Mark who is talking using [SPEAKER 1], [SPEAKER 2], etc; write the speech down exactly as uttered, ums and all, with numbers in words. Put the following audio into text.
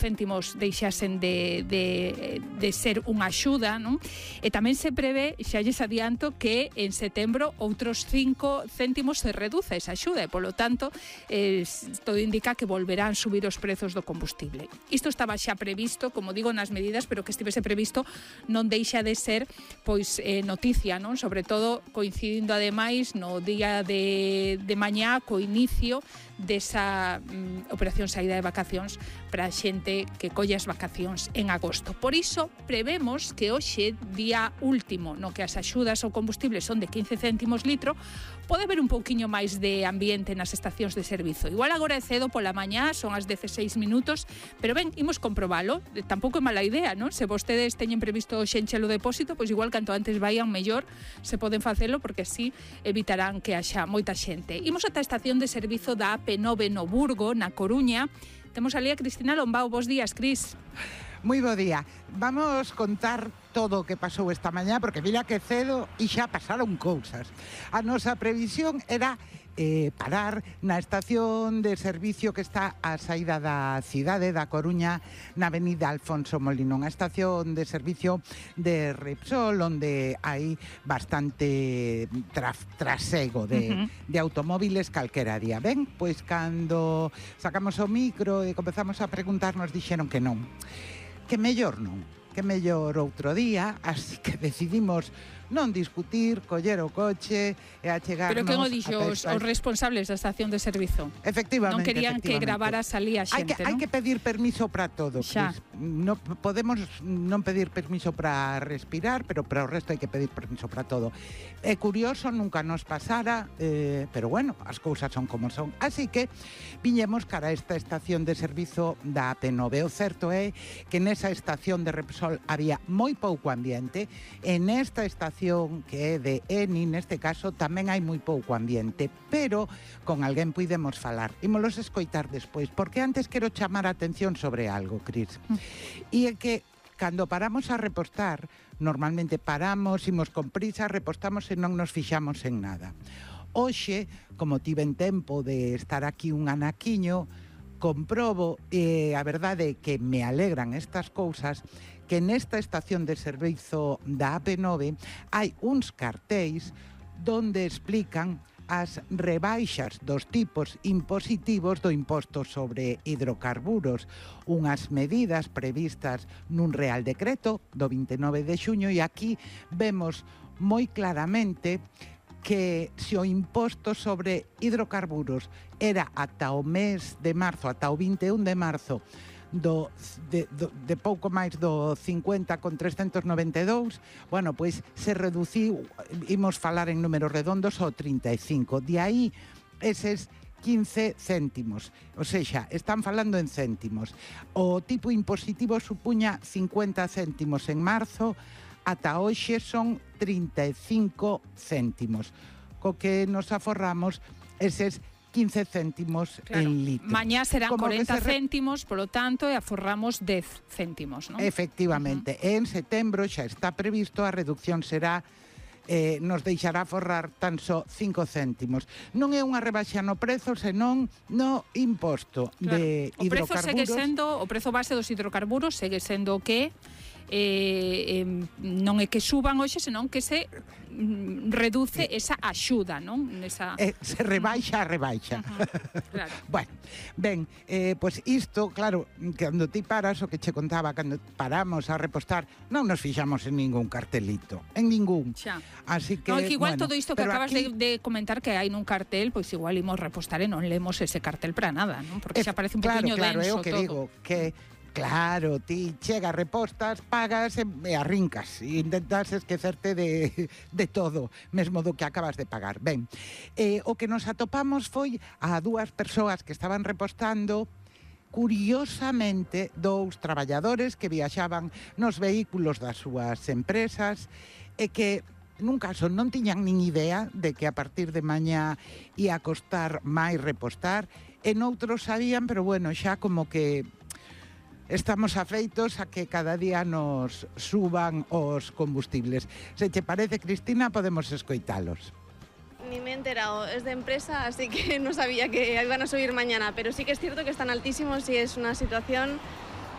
[SPEAKER 1] céntimos deixasen de, de, de ser unha axuda, non? E tamén se prevé, xa lles adianto, que en setembro outros cinco céntimos se reduce esa axuda e, polo tanto, eh, todo indica que volverán subir os prezos do combustible. Isto estaba xa previsto, como digo, nas medidas, pero que estivese previsto non deixa de ser pois eh, noticia, non? Sobre todo coincidindo ademais no día de, de mañá co inicio desa mm, operación saída de vacacións para a xente que colle as vacacións en agosto. Por iso, prevemos que hoxe, día último, no que as axudas ao combustible son de quince céntimos litro, pode haber un pouquiño máis de ambiente nas estacións de servizo. Igual agora é cedo pola mañá, son as dezaseis minutos, pero ben, imos comprobalo. Tampouco é mala idea, non? Se vostedes teñen previsto hoxe enche o depósito, pois igual canto antes vayan mellor, se poden facelo, porque así evitarán que haxa moita xente. Imos ata a estación de servizo da A P nove no Burgo, na Coruña. Temos ali a Cristina Lombao. Bos días, Cris.
[SPEAKER 2] Moi bo día. Vamos contar todo o que pasou esta mañá, porque mira que cedo e xa pasaron cousas. A nosa previsión era eh, parar na estación de servicio que está á saída da cidade da Coruña, na avenida Alfonso Molino, unha estación de servicio de Repsol, onde hai bastante tra trasego de, uh -huh. de automóviles calquera día. Ben, pois cando sacamos o micro e comezamos a preguntar, nos dixeron que non, que mellor non, que mellor outro día, así que decidimos non discutir, coller o coche e achegarnos...
[SPEAKER 1] Pero que o dixo os, os responsables da estación de servizo?
[SPEAKER 2] Efectivamente.
[SPEAKER 1] Non querían que gravaras ali a xente,
[SPEAKER 2] hai que,
[SPEAKER 1] non?
[SPEAKER 2] Hai que pedir permiso para todo, Cris. No, podemos non pedir permiso para respirar, pero para o resto hai que pedir permiso para todo. É curioso, nunca nos pasara, eh, pero bueno, as cousas son como son. Así que viñemos cara a esta estación de servizo da A P nove. O certo é que nesa estación de Repsol había moi pouco ambiente, e nesta estación que é de Eni, neste caso, tamén hai moi pouco ambiente, pero con alguén puidemos falar. Ímolos escoitar despois, porque antes quero chamar a atención sobre algo, Cris. Mm. E é que cando paramos a repostar, normalmente paramos, imos con prisa, repostamos e non nos fixamos en nada. Hoxe, como tiven tempo de estar aquí un anaquiño, comprobo, e eh, a verdade é que me alegran estas cousas, que nesta estación de servizo da A P nove hai uns cartéis donde explican as rebaixas dos tipos impositivos do imposto sobre hidrocarburos, unhas medidas previstas nun Real Decreto do vinte e nove de xuño, e aquí vemos moi claramente que se o imposto sobre hidrocarburos era ata o mes de marzo, ata o vinte e un de marzo, do, de, do, de pouco máis do cincuenta con trescentos noventa e dous, bueno, pois se reduciu, imos falar en números redondos, ao trinta e cinco. De aí, eses quince céntimos, ou seja, están falando en céntimos. O tipo impositivo supuña cincuenta céntimos en marzo, ata hoxe son trinta e cinco céntimos, co que nos aforramos eses quince céntimos, claro, en litro.
[SPEAKER 1] Mañá serán como corenta céntimos, polo tanto, e aforramos dez céntimos, non?
[SPEAKER 2] Efectivamente. Uh -huh. En setembro xa está previsto, a reducción será, eh, nos deixará aforrar tan só cinco céntimos. Non é unha rebaixa no prezo, senón no imposto, claro, de hidrocarburos. O prezo segue sendo, o prezo base dos hidrocarburos segue sendo o que Eh, eh, non é que suban hoxe, senón que se mm, reduce eh, esa axuda, non? Esa... Eh, se rebaixa a rebaixa. Uh -huh, claro. Bueno, ben, eh, pois pues isto, claro, cando ti paras, o que che contaba, cando paramos a repostar, non nos fixamos en ningún cartelito, en ningún.
[SPEAKER 1] Xa.
[SPEAKER 2] Así que,
[SPEAKER 1] no, que igual
[SPEAKER 2] bueno,
[SPEAKER 1] todo isto que acabas
[SPEAKER 2] aquí...
[SPEAKER 1] de, de comentar que hai nun cartel, pois igual imos repostar e non lemos ese cartel para nada, non? Porque xa parece un
[SPEAKER 2] claro,
[SPEAKER 1] poquinho
[SPEAKER 2] claro,
[SPEAKER 1] denso
[SPEAKER 2] é o que
[SPEAKER 1] todo.
[SPEAKER 2] digo, que claro, ti chegas, repostas, pagas e, e arrincas e intentas esquecerte de, de todo, mesmo do que acabas de pagar. Ben, eh, o que nos atopamos foi a dúas persoas que estaban repostando, curiosamente, dous traballadores que viaxaban nos vehículos das súas empresas e que nun caso non tiñan nin idea de que a partir de mañá ia costar máis repostar, e noutros sabían, pero bueno, xa como que estamos afeitos a que cada día nos suban os combustibles. Se te parece, Cristina, podemos escoitalos.
[SPEAKER 3] Ni me he enterado, es de empresa, así que no sabía que iban a subir mañana, pero sí que es cierto que están altísimos y es una situación